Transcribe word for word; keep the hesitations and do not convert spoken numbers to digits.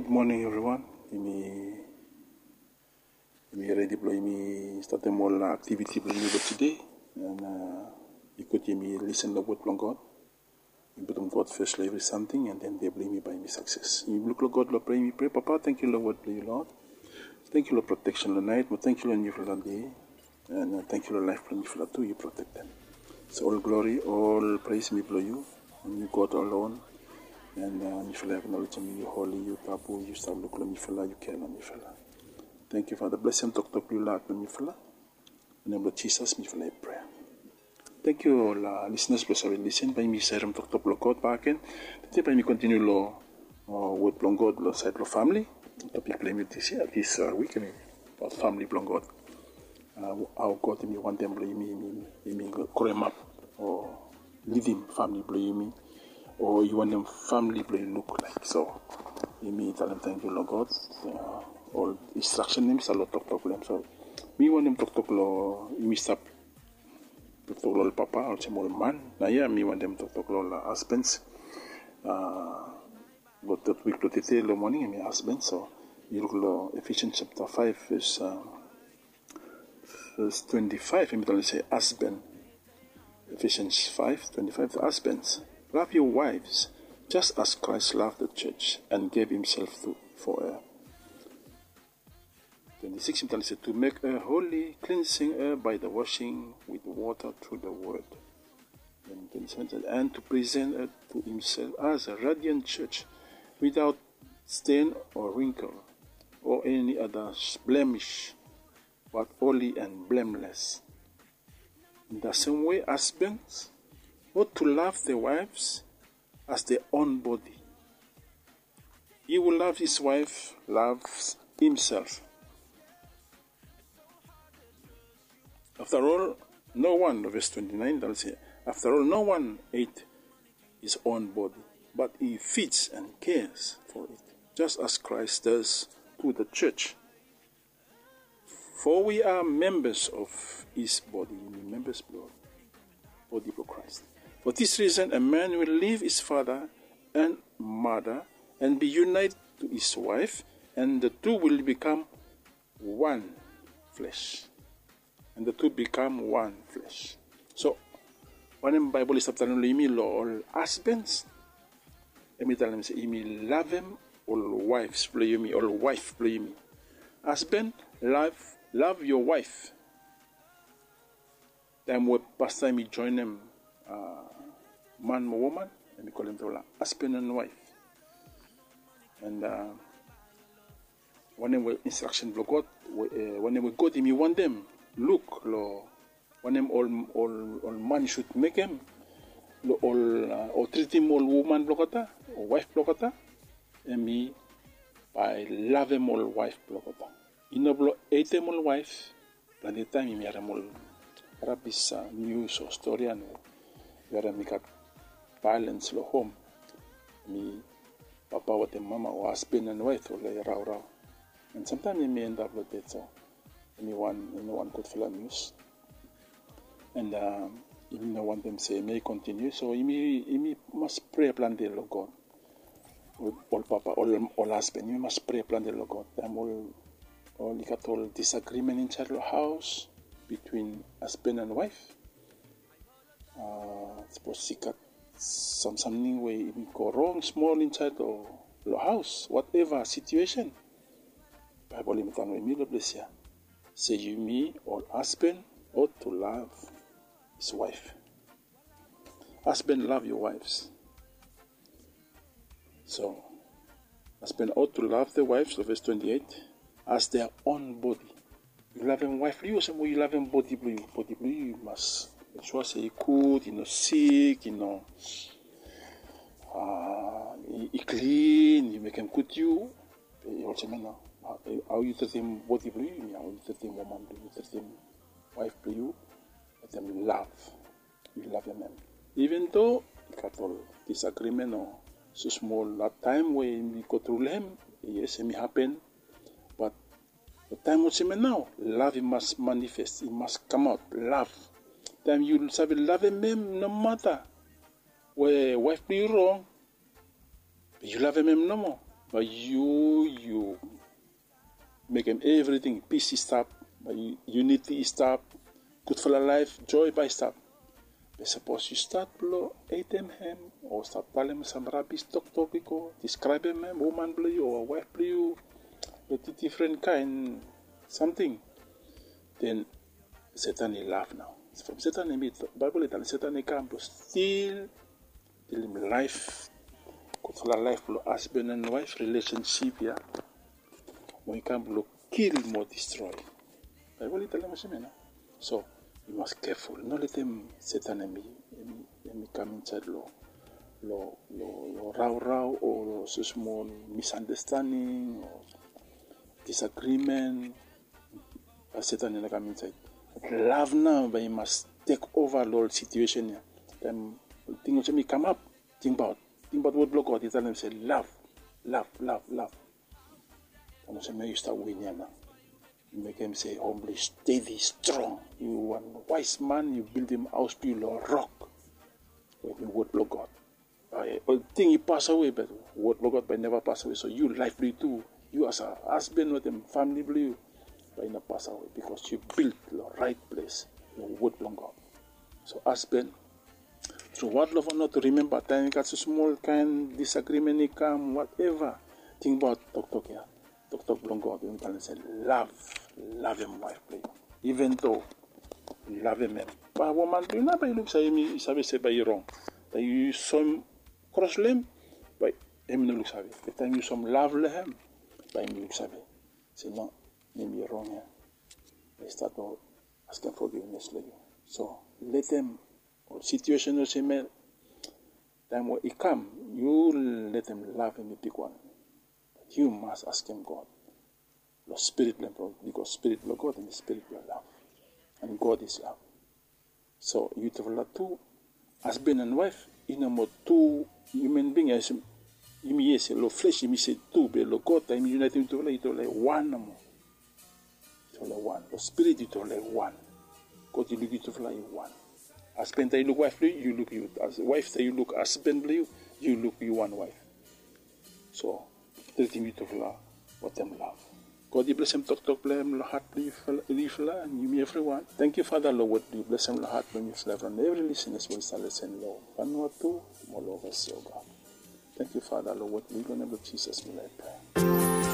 Gud moning evriwan. Yumi redi blong yumi statem ol aktiviti blong yumi blong tede. An i gud yumi lisen long wod blong God. Yumi putum God fes long evri samting, an den dei blong yumi bae yumi sakses. Yumi luk long God long prea, yumi prea, Papa, tangkiu long wod blong yu, Lord. Tangkiu long proteksen long naet, mo tangkiu long niufala dei. An tangkiu long laef blong mifala tu, yu protektem. So ol glori, ol pres mi blong yu. An yu God alon. An mifala aknolejem yu holi, yu tabu, yu stap luk long mifala, yu kea long mifala. Tangkiu Fada, blesem toktok blong yu long hat blong mifala. Long nem blong Jisas mifala i prea. Tangkiu ol lisinas blong save lisen. Bae yumi sarem toktok blong God bakegen. Tede bae yumi kontiniu long wod blong God long saed blong famili. Topik blong yumi dis yia, dis wik, hemi abaot famili blong God. Hao God hemi wantem blong yumi, yumi, yumi groemap o lidim famili blong yumi, o i wantem famili blong yu luk laek. So yumi talem tangkiu long God. Ol instraksen hemi stap long toktok blong hem. So mi wantem toktok long, yumi stap toktok long ol papa olsem ol man. Naoia mi wantem toktok long ol hasbens. Long totpik blong tede long moning hemi hasbens. So yu luk long Ephesians chapter five, verse, verse twenty-five, hemi talem se hasben. Ephesians five twenty-five, the husbands, love your wives, just as Christ loved the church and gave himself to, for her. Twenty-six, hemi talem se, to make her holy, cleansing her by the washing with water through the word. And twenty-seven, and to present her to himself as a radiant church, without stain or wrinkle or any other blemish, but holy and blameless. In the same way, husbands ought to love their wives as their own body. He who loves his wife loves himself. After all, no one, verse twenty-nine, talem se, after all, no one hate his own body, but he feeds and cares for it, just as Christ does to the church. For we are members of his body. Yumi members blong bodi blong Christ. For this reason, a man will leave his father and mother and be united to his wife, and the two will become one flesh. And the two become one flesh. So wanem Baebol i stap talem long yumi long ol hasbens? Hemi talem se yumi lavem ol waefs blong yumi, ol waef blong yumi. Hasben, love, love your wife. Taem we pasta hemi joenem man mo woman, hemi kolem togeta hasben and waef. And wanem we instraksen blong God, wanem we God hemi wantem luk long wanem ol, ol, ol man i sud mekem long ol, o tritim ol woman blong olgeta o waef blong olgeta, hemi bae lavem ol waef blong olgeta. I no blong hetem ol waef. Plante taem yumi harem ol rabis nius o stori, and yumi harem i gat vaelens long hom. Hemi papa wetem mama o hasben and waef oli raorao. And samtaem yumi endap long ded. So hemi wan, i no wan gudfala nius. And yumi no wantem se hemia i kontiniu. So yumi, yumi mas prea plante long God. Ol papa, ol, ol hasben, yumi mas prea plante long God. Taem ol, ol i gat ol disagrimen insaed long haos bitwin hasben and waef. Sapos i gat sam, samting we i go rong smol insaed long, long haos, wateva situesen, Baebol i talem long yumi long ples ya se yumi ol hasben ought to love his wife. Hasben, love your wives. So hasben ought to love their wives, long ves twenty-eight, as their own bodi. Yu lavem waef blong yu olsem we yu lavem bodi blong yu. Bodi blong yu, yu mas mek sua se i gud, i no sik, i no, i, i klin, yu mekem gud yu. Olsem ya nao, hao yu tritim bodi blong yu, hemia hao yu tritim woman blong yu, yu tritim waef blong yu wetem lav. Yu lavem hem. Iven do i gat ol disagrimen o smosmol taem we yumi go tru long hem, yes, hemi hapen. Bat long taem olsem ya nao, lav i mas manifest, i mas kamaot, lav. Taem yu save lavem hem nomata we waef blong yu rong, be yu lavem hem nomo, Bae yu yu mekem evriting, pis i stap, bae yuniti i stap, gudfala laef, joe bae i stap. Be sapos yu stat blong hetem hem o stat talem sam rabis toktok i go, diskraebem hem, woman blong yu o waef blong yu, long difren kaen samting, den Setan i laf nao. From Setan hem i, Baebol i talem Setan i kam blong stil, kilim laef, gudfala laef blong hasban and waef rilesensip ya. Mo i kam blong kil mo distroe. Baebol i talem olsem ya nao. So yu mas keful, no letem Setan hem i, hem i, hem i kam insaed long, long, long, long raorao o long smol misandastaning o disagrimen. Bae Setan i no kam insaed. Lav nao bae i mas tek ova long ol situesen ya. Taem ol ting olsem i kamap, tingbaot, tingbaot wod blong God i talem se lav, lav, lav, lav. Taem olsem ya yu stap win ya nao. Yu mekem se hom blong yu stedi strong. Yu wan waes man, yu bildim haos blong yu long rok we hem i wod blong God. Bae ol ting i pasawe, be wod blong God bae i neva pasawe. So yu laef blong yu tu, yu as a hasban wetem famili blong yu, bae i no pasawe, bikos yu bild long raet ples, long wod blong God. So hasban, tru wad long faon nao tu rimemba taem i gat smol kaen disagrimen i kam, wateva, tingbaot toktok ya. Toktok blong God we i talem se lav, lavem waef blong yu, iven do lavem hem. Bae woman blong yu nao bae i luksave hem, i save se bae i rong. Bae yu soem kros long hem, bae hem i no luksave. Be taem yu soem lav long hem, bae hem i luksave se nao, hem i rong ya. Bae i stat long askem fogivnes long yu. So letem ol situesen olsem ya, taem we i kam, yu letem lav hem i bigwan. Be yu mas askem God long spirit blong hem, bikos spirit blong God hem i spirit blong lav. And God is love. So yutufala tu, hasban and waef i no moa tu hiuman bing ya olsem yumi yet se long fles yumi se tu, be long God taem i yunaetem yutufala, yutufala i wan nomo. Yutufala i wan. Long spirit yutufala i wan. God i luk yutufala i wan. Hasban taem i luk waef blong yu, yu luk yu. Waef taem i luk hasban blong yu, yu luk yu wan waef. So tritim yutufala wetem lav. God i blesem toktok blong hem long hat blong yufala, yumi evriwan. Tangkiu Fada long wod blong yu, blesem long hat blong yufala, evri lisenas we i stap lesen long Vanuatu mo long ovasia, God. Tangkiu Fada long wod blong yu, long nem blong Jisas mi laik prea.